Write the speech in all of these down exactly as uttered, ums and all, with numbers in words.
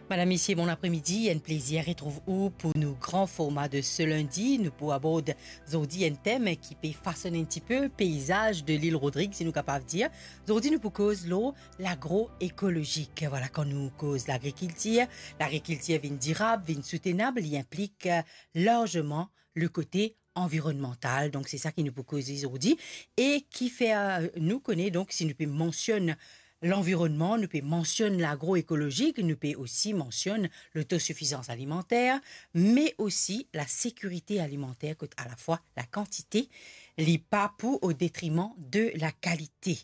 Madam, misie, bon apremidi. Enn plezir retrouv ou pou nou gran forma de se lindi. Nou pou abord zordi enn tem ki pe fasonn enn tipe peizaz de lil Rodrig, si nou kapav dir. Zordi nou pou koz lor lagroekolozik. Vwala, kan nou koz lagrikiltir, lagrikiltir vinn dirab, vinn soutenab, li inplik, eh, larzeman le kote anvironnmantal. Donk, se sa ki nou pou koze zordi e ki fer, eh, nou kone, donk, si nou pe mansionn lanvironnman, nou pe mansionn lagroekolozik, nou pe osi mansionn lotosifizans alimanter, me osi lasekirite alimanter, kot alafwa lakantite, li pa pou o detriman de lakalite.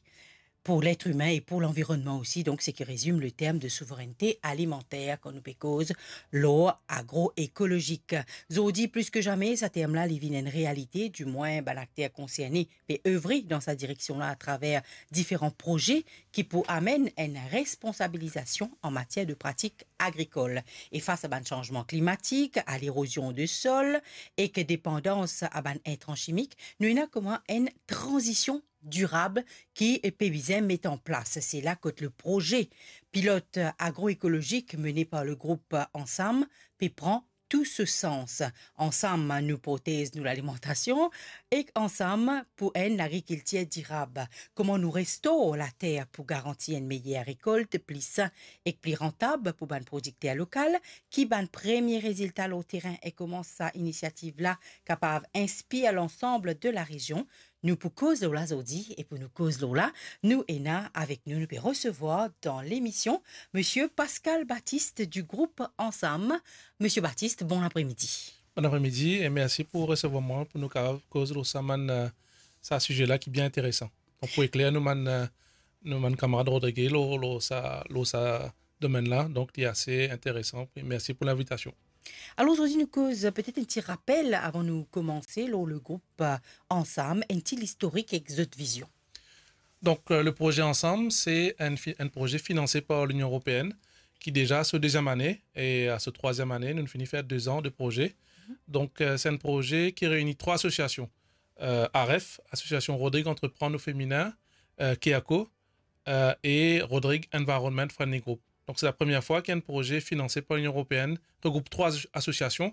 Pou letr imin e pou lanvironnman osi, donk, seki rezim le term de souverennte alimanter kan nou pe koz lor agroekolozik. Zordi, plis ki zame, sa term la, li vinn enn realite, dimwin bann akter konserne pe evre dan sa direksion la atraver diferan proze ki pou amenn enn responsabilizasion an matier de pratik agrikol. E fas a bann sanzman klimatik, a lerozion de sol ek depandans a bann intran simik, nou ena kouma enn tranzision dirab ki pe bizin met an plas. Se la kot le proze pilot agroekolozik mene par le group Ansam pe pran tou so sans. Ansam, nou protez nou lalimantasion, ek Ansam pou enn lagrikiltir dirab. Kouma nou restor later pou garanti enn meyer rekolt, pli sin ek pli rantab pou bann prodikter lokal? Ki bann premie rezilta lor terin e kouma sa inisiativ la kapav inspir lansam de larezion? Nou pou koz lor la zordi, e pou nou koz lor la, nou ena avek nou, nou pe resevwar dan lemision Misie Pascal Baptiste du group Ansam. Misie Baptiste, bon apremidi. Bon apremidi e mersi pou resevwar mwa pou nou kapav koz lor sa bann, eh, sa size la ki bien interesan. Donk, pou ekler nou bann, eh, nou bann kamarad Rodrig lor, lor sa, lor sa domenn la, donk, li ase interesan. Mersi pou linvitasion. Alor, zordi nou koz, petet enn ti rapel avan nou koumanse lor le group, eh, Ansam, enn ti listorik ek zot vizion. Donk, eh, le proze Ansam, se enn fi-, enn proze finanse par Linion Eropeenn, ki deza a so deziem ane, e a so trwaziem ane, nou fini fer de zan de proze. Donk, eh, se enn proze ki reini trwa asosiasion, eh, AREF, Asosiasion Rodrig Antreprann o Feminin, eh, Keako, eh, e Rodrig Environment Friendly Group. Donk, se la premie fwa ki enn proze finanse par Linion Eropeenn regroup trwa aso-, asosiasion,